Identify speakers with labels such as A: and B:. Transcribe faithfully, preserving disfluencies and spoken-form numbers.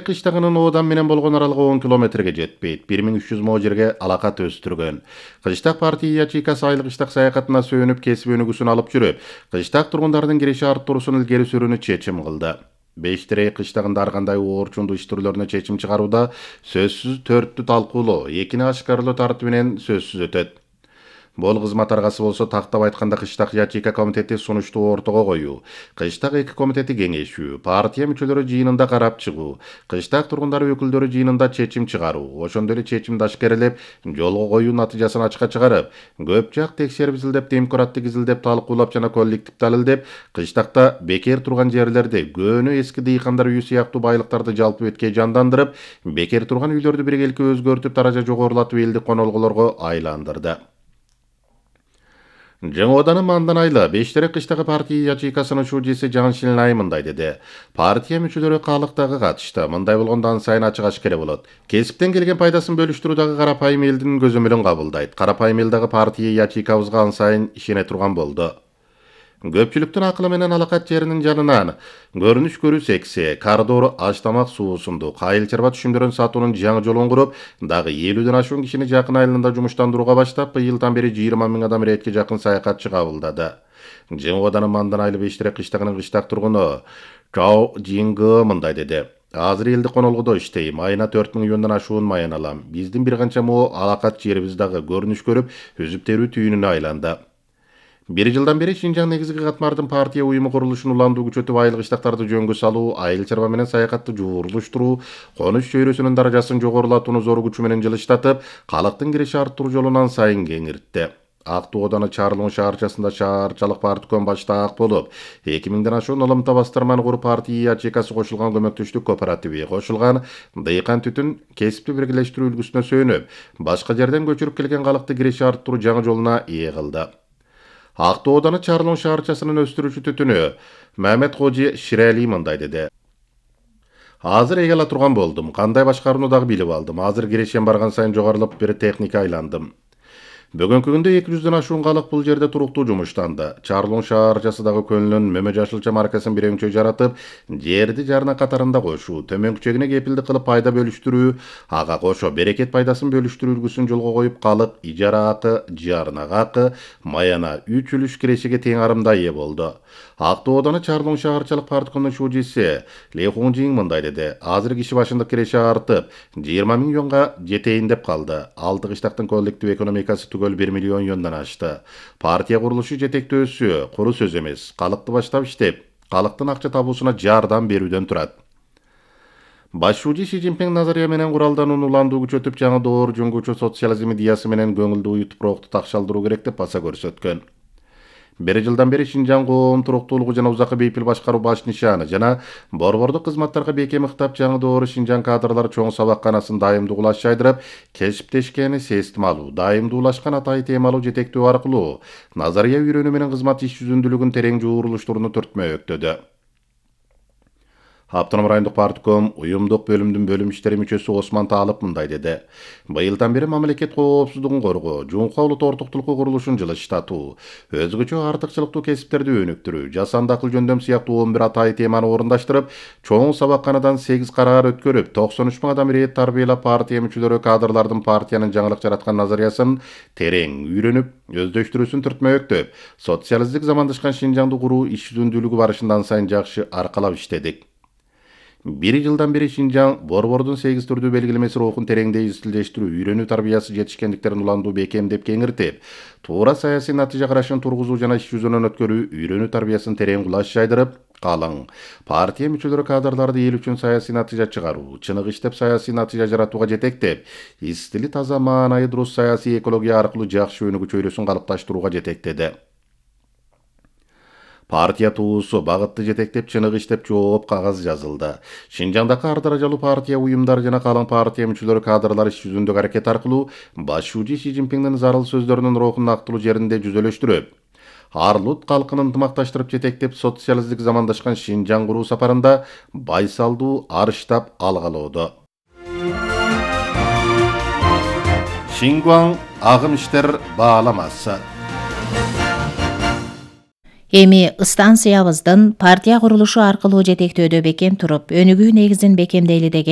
A: кыштагынын Одан менен болгон аралыгы он километрге жетпейт. бир миң үч жүз мо жерге алакат өстүргөн. Кыштак партия ячейкасы айлык кыштак саякатына сөөнүп кесип өнүгүүсүн алып жүрүп, кыштак тургундардын киреше арттыруусун илгери сүрүүнү чечим кылды. Бештерек кыштагында ар кандай оорчундуу иш түрлөрүнө чечим чыгарууда сөзсүз төрттү талкуулоо, экини ашкарлоо тартибинен сөзсүз өтөт. Бул кызмат аргасы болсо тактап айтканда кыштак ячейка комитети сунушту ортого коюу, кыштак эки комитети кеңешүү, партия мүчөлөрү жыйынында карап чыгуу, кыштак тургундары өкүлдөрү жыйынында чечим чыгаруу, ошондой эле чечимди ашкерелеп, жолго коюу натыйжасын ачыкка чыгарып, көп жак текшерип изилдеп, темкураттык изилдеп, талкуулап жана коллектив далилдеп, кыштакта бекер турган жерлерди, көөнү эски дыйкандар үйү сыяктуу байлыктарды жалпы беткей жандандырып, бекер турган үйлөрдү биргеликке өзгөртүп, таража жогорулатып элди конолгулорго айландырды. Жаңы Оданын мандан айла Бештерек кыштагы партия ячейкасынын шужеси Жаншин Ай мындай деди. Партия мүчөлөрү калыктагы катышты. Мындай болгондо ан сайын ачык ашкере болот. Кесиптен келген пайдасын бөлүштүрүүдагы карапайым элдин көзөмөлүн кабылдайт. Карапайым эл дагы партия ячейкабызга ан сайын ишене турган болду. Көпчүлүктүн акылы менен алакат жеринин жанынан көрүнүш көрүү секси, коридор аш тамак суусунду, кайыл чарба түшүмдөрүн сатуунун жаңы жолун куруп, дагы элүүдөн ашуун кишини жакын айылында жумуштандырууга баштап, быйылдан бери жыйырма миң адам иретке жакын саякатчы кабылдады. Жаңы Оданын мандан айыл Бештерек кыштагынын кыштак тургуну Чао Жингы мындай деди. Азыр элди конолгудо иштейм, айына төрт миң юандан ашуун маян алам. Биздин бир канча мо алакат жерибиз дагы көрүнүш көрүп, үзүп терүү түйүнүнө айланды. Бир жылдан бери Шинжаң негизги катмардын партия уюму курулушун уламдуу күчөтүп, айыл кыштактарды жөнгө салуу, айыл чарба менен саякатты жуурулуштуруу, конуш чөйрөсүнүн даражасын жогорулатууну зор күчү менен жылыштатып, калктын киреше арттыруу жолунан сайын кеңиртти. Ак Ооданы Чарлуун шаарчасында шаарчалык партком баштаак болуп, эки миңден ашуун ылымта бастырманы куруп, партия ячейкасы кошулган көмөктөштүк кооперативи, кошулган дыйкан түтүн кесипти биргелештирүү үлгүсүнө сөөнүп, башка жерден көчүрүп келген калкты киреше арттыруу жаңы жолуна ээ кылды. Ак Ооданы Чарлуун шаарчасынын өстүрүүчү түтүнү Мамет Кожи Ширали мындай деди. Азыр эге ала турган болдум, кандай башкарууну дагы билип алдым. Азыр кирешем барган сайын жогорулуп бир техника айландым. Бүгүнкү күндө эки жүздөн ашуун калык бул жерде туруктуу жумуштанды. Чарлуун шаарчасы дагы көнүнүн Мөмө Жашылча маркасын бирөңчө жаратып, жерди жарына катарында кошуу, төмөнкүчөгүнө кепилдик кылып пайда бөлүштүрүү, ага кошо берекет пайдасын бөлүштүрүү үлгүсүн жолго коюп, калык ижара акы, жарнага акы, маяна үч үлүш кирешеге тең арымда ээ болду. Ак Ооданы Чарлуун шаарчалык парткомдун шужеси Ли Хунжин мындай деди. Азыр киши башындык киреше артып, жыйырма миң юанга жетейин деп калды. Алты кыштактын коллектив экономикасы түгөл бир миллион юандан ашты. Партия курулушу жетектөөсү куру сөз эмес, калыкты баштап иштеп, калктын акча табуусуна жардам берүүдөн турат. Баш шужи Си Цзиньпин назария менен куралданууну уламдуу күчөтүп, жаңы доор жөнгүчө социализм идеясы менен көңүлдүү уют турукту такшалдыруу керек деп баса көрсөткөн. Бир жылдан бери Шинжаң коом туруктуулугу жана узакы бейпил башкаруу баш нишаны жана борбордук кызматтарга бекем ыктап, жаңы доору Шинжаң кадрлар чоң сабакканасын дайымдуу улаш жайдырып, кесиптешкени сестим алуу, дайымдуулашкан атай темалуу жетектөө аркылуу назария үйрөнүү менен кызмат иш жүзүндүүлүгүн терең жуурулуштурууну түртмөктөдү. Автоном райондук партком уюмдук бөлүмдүн бөлүм иштери мүчөсү Осман Таалып мындай деди. Быйылдан бери мамлекет коопсуздугун коргоо, жуңка улут ортуктулукку курулушун жылыштатуу, өзгөчө артыкчылыктуу кесиптерди өнүктүрүү, жасанды акыл жөндөм сыяктуу он бир атай теманы орундаштырып, чоң сабакканадан сегиз караар өткөрүп, токсон үч миң адам ирет тарбиялап, партия мүчөлөрү кадрлардын партиянын жаңылык жараткан назариясын терең үйрөнүп, өздөштүрүүсүн түртмөктөп, социалисттик замандашкан Шинжаңды куруу иш жүзүндүүлүгү барышындан сайын жакшы аркалап иштедик. Бир жылдан бери Шинжаң борбордун сегиз түрдүү белгилемеси рухун тереңдей изилдештирүү, үйрөнүү тарбиясы жетишкендиктерин уламдуу бекемдеп кеңиртип, туура саясий натыйжа карашын тургузуу жана иш жүзүнөн өткөрүү, үйрөнүү тарбиясын терең кулаш жайдырып, калың партия мүчөлөрү кадрларды эл үчүн саясий натыйжа чыгаруу, чыныгы иштеп саясий натыйжа жаратууга жетектеп, истили таза маанайы дурус саясий экология аркылуу жакшы өнүгүү чөйрөсүн калыпташтырууга жетектеди. Партия туусу багытты жетектеп, чыныгы иштеп жооп кагаз жазылды. Шинжаңдагы ар даражалуу партия уюмдары жана калың партия мүчөлөрү кадрлар иш жүзүндөгү аракет аркылуу баш шужи Си Цзиньпиндин зарыл сөздөрүнүн рухун нактылуу жеринде жүзөлөштүрүп, арлут калкын ынтымакташтырып жетектеп, социалисттик замандашкан Шинжаң куруу сапарында байсалдуу арыштап алгалоодо. Шингуаң агым иштер бааламасы.
B: Эми станциябыздын партия курулушу аркылуу жетектөөдө бекем туруп, өнүгүү негизин бекемдейли деген